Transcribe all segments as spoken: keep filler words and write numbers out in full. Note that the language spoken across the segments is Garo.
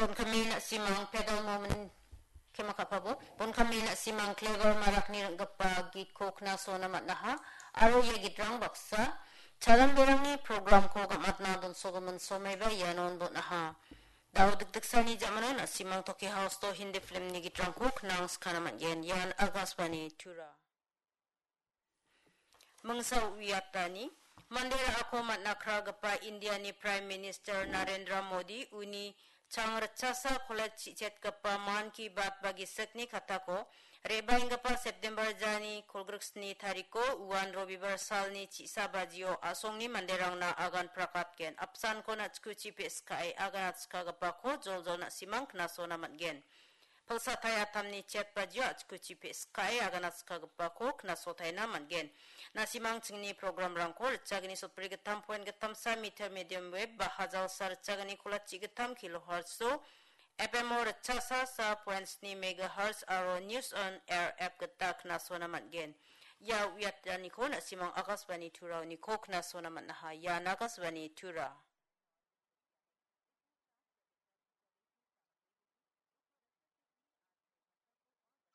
Bonkame na·simang pedal moment kema ka·pabo. Bonkame na·simang Clever Marakni ring·gipa gitko knasona man·aha. Aro ia gitrang baksa chalanberangni programko gam·atna donsogimin somaiba ianon bon·aha. Dao dikdiksani jamano na·simang Toki House-o Hindi filmni gitrangko knangskana man·gen. Ian Akashvani Tura. Mingsa uiatani, mande ra·ako man·a kragipa Indiani Prime Minister Narendra Modi uni chang ritchasa college chi·chetgipa Mann Ki Baat ba gisikni katako re·baenggipa September jani kolgriksni tariko uan Robibar salni chi·sa bajio asongni manderangna agan prakatgen. Apsanko na·chikuchi pe·skae agan atskagipako joljol na·simang knasona man·gen. Pilsatai atamni chet bajio a·chikuchi pe·skae agan atskagipako knasotaina man·gen. Na·simang chingni programrangko ritchagni sotbri gittam point gittamsa meter medium wave ba hajalsa ritchagni kolachi gittam kilohertz-o F M-o ritchasa sa point sni megahertz aro News on Air app gita knasona man·gen. Ia uiataniko na·simang Akashvani Turaoniko knasona man·aha. Ian Akashvani Tura.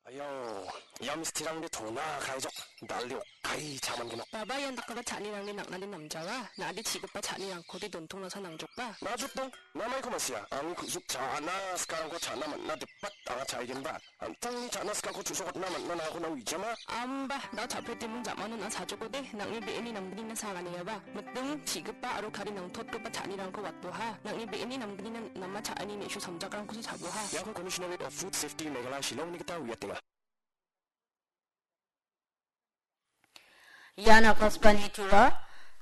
Ayau, ia misterangde tona kaijok, dal·e okai cha·mangenok. Baba, ian dakgipa cha·anirangni nang·nade namjawa, na·ade chi·gipa cha·nirangkode dontongnasa nangjokba. Najokdong, namaiko ma·sia, angni ku·suk cha·na sikarangko cha·na man·na dipat anga cha·aigenba. An·tangni cha·na sikarangko chu·sokatna man·na nangako nang wijama. Amba, da·o cha·pretimung ja·mano na·a chajokode, nang·ni be·eni namgnina saganengaba. Miting, chi·gipa aro kari nangtotgipa cha·anirangko watoha. Nang·ni be·eni namgnina nama cha·ani me·su samjakrangkosa chaboha. Iako Commissionerate of Food Safety Meghalaya Shillongni gita uiatenga. Ian Akashvani Tura,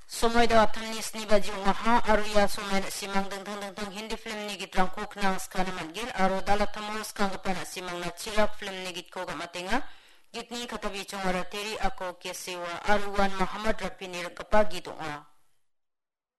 somoi da atamni sni baji ong·aha, aro ia somoi na·simang dingtang dingtang Hindi filmni gitrangko knangskana man·gen, aro dal·atamo skanggipa na·simangna Chirak filmni gitko gam·atenga. Gitni katabichongara Teri Ako Kesewa aro uan Mohammad Rafini rikgipa git ong·a.